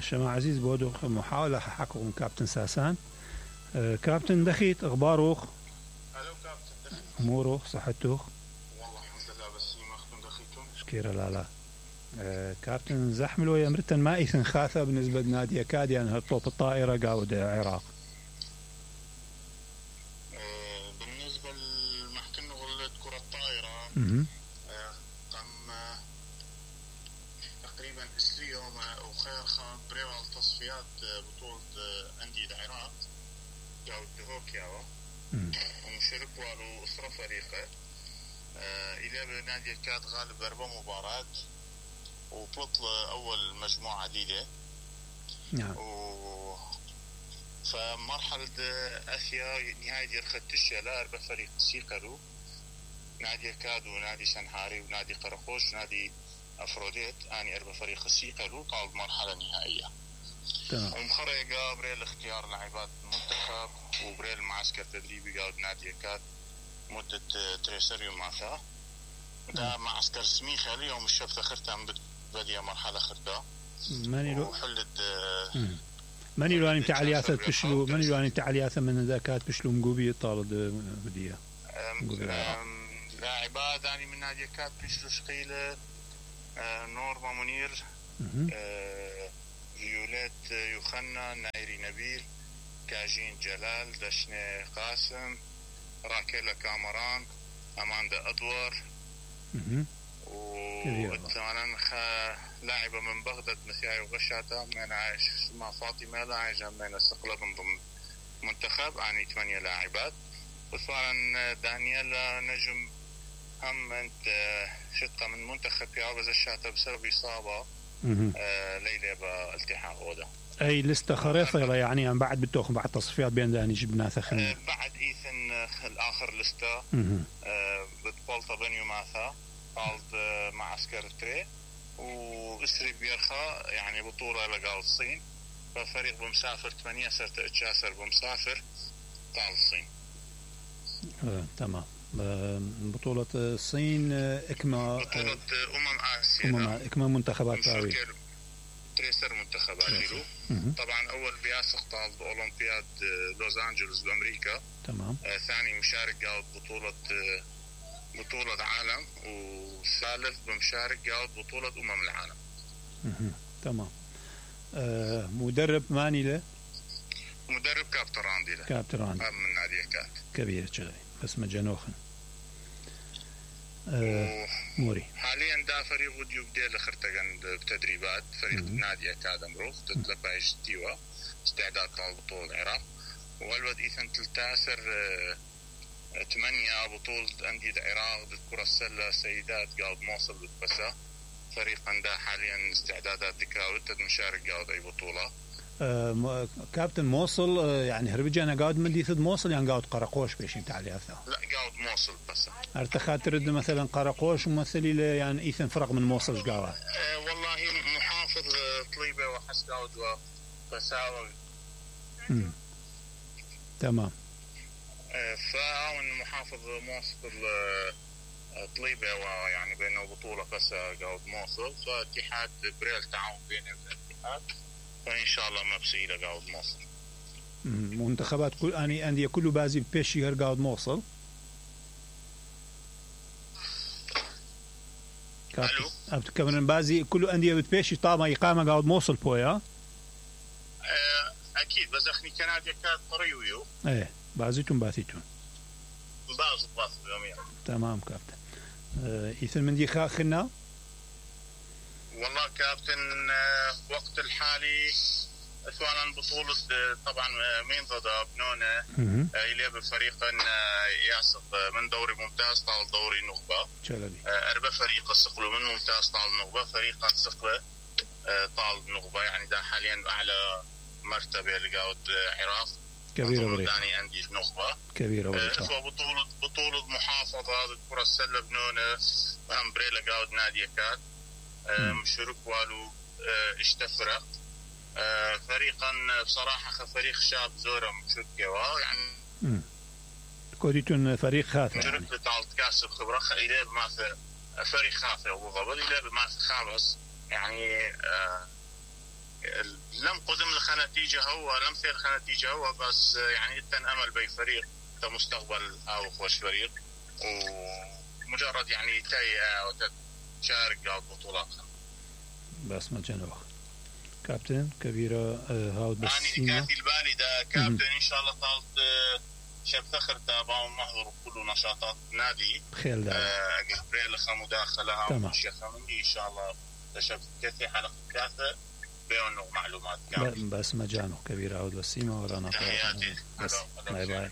شما عزيز بودو محاولة حقكم كابتن ساسان. كابتن دخيت اخباروخ؟ الو كابتن دخيت اموروخ صحتوخ؟ والله الحمد لله بس ما اختم دخيتم شكيرا لا كابتن زحملو يا مرتن ما ايثن خاثة بالنسبة لنادي اكادي ان هطوط الطائرة قاود العراق. بالنسبة لمحكمة غلة كرة الطائرة تم تقريبا اليوم وخير خان بريوال تصفيات بطولة أندية العراق قاود هوكياوا ومشارك والو أسرة فريقه إلى نادي الكاد غالب 4 مباراة وبطل أول مجموعة جديدة. نعم. فمرحلة آسيا نهاية الختشة لا 4 فريق سيقلوا نادي الكاد ونادي سنهاري ونادي قرقوش ونادي أفروديت أني 4 فريق سيقلوا طال مرحلة نهائية. ومخرجة بريل اختيار لاعبات المنتخب وبريل معسكر تدريبي قاعد نادي الكاد مدة 3 يومات. ده معسكر سميخة اليوم الشبت خرتم بدي مرحلة خرتا وحلت ماني لو أني تعلياثة بشلو ماني لو أني تعلياثة من ذاكات بشلو مقوبي طالد بديها لاعبات يعني من نادي كات بشلو شقيلة نورما منير فيوليت يوخنا نايري نبيل كاجين جلال دشني قاسم راكيلا كامران أماندا أدوار وثمانا لاعبة من بغداد مسياي وغشاتا من عايش اسمها فاطمة لاعبة من استقلال ضمن منتخب يعني 8 لاعبات. وثمانا دانييلا نجم هم انت شقة من منتخب يابز الشاتا بسبب إصابة ليلة بالتحاق غودا. أي لستة خريطة يعني بعد بتوخ بعد تصفيات بين داني جبنا ثخن بعد إيثن الآخر لستة بتبولتا بنيو ماثا قالد معسكر تري وإسري بيرخا يعني بطولة لقال الصين ففريق بمسافر 8 سرت اتشاسر بمسافر قال الصين. تمام. بطولة الصين إكما بطولة آسيا إكما منتخبات باوي تريسر منتخبات جيلو. طبعا أول بياسق طالب أولمبياد لوس أنجلوس بأمريكا. تمام. ثاني مشارك قاعد بطولة عالم وثالث بمشارك قاعد بطولة العالم. تمام. مدرب ماني له؟ مدرب كابتن راندي له. كابتن راندي من نادي كات كبير شغلي بس مجنوخن. موري حاليا دا فريق وديو بديل خرتقن بتدريبات فريق نادي أكادم روف تتلبايش تيوا استعداد لبطولة العراق. والود إيثن تلتاسر 8 بطولة أندية العراق بالكرة السلة سيدات قاعد موصل بالبسا فريق عنده حاليا استعدادات دكاوت مشارك قاعد أي بطولة. كابتن موصل يعني هربجي أنا قاعد مدي ثد موصل يعني قاعد قرقوش بيش انت علي أثا لا قاعد موصل بس ارتخات ترد مثلا قرقوش ومثلي له يعني إيثن فرق من موصل قاعد والله محافظ طليبة وحس قاعد وفساوة. تمام. فاون محافظ موصل طليبة ويعني بينه بطولة بس قاعد موصل فاتحاد بريل تعاون بينه والاتحاد فإن شاء الله ما بسيلة قاعد موصل. منتخبات كل أني أندية كله بازي بيشي هر قاعد موصل. كمان بازي كله أندية بتبيشي طابع إقامة قاعد موصل بويا. أكيد بس أخني كنادي كاد طريويو. إيه بازيتون بازيتون. باز يوميا. تمام كابتن. إيثن من دي خاخنا. والله كابتن وقت الحالي سواء بطولة طبعا مين ضد بنونه إليه بفريق يعصب من دوري ممتاز طال دوري نخبة 4 فريق استقلوا من ممتاز طال نخبة فريق استقله طال نخبة يعني ده حاليا أعلى مرتبة لقاود عراق كبيرة بريقة ثاني عندي نخبة كبيرة بريقة بطولة محافظة الكرة السلة بنونه أمبريلا قاود نادي كات مشارك والو اشتفرق فريقا بصراحة فريق شاب زورم شدقوا يعني كوديتون فريق خاطئ مشارك لتعال تكاسب خبرة إليه بماثل فريق خاطئ وضبط إليه بماثل خامس يعني لم قدم لخ نتيجة هو لم ثير خ نتيجة هو بس يعني إتن أمل بي فريق مستقبل أو خوش فريق ومجرد يعني تاي وتشارك أو بطولات بس ما جنوخ كابتن كبيرة هاود بس يعني كاتي البالي دا كابتن إن شاء الله طالت شاب فخر تابعوا محضر كل نشاطات نادي خيل دا قبريل لخ مداخلة ومشي خمندي إن شاء الله تشاب كثي حلقة كاثة بيونو معلومات بس ما جانو كبيرة هاود بس سيما ورانا تحياتي بس باي باي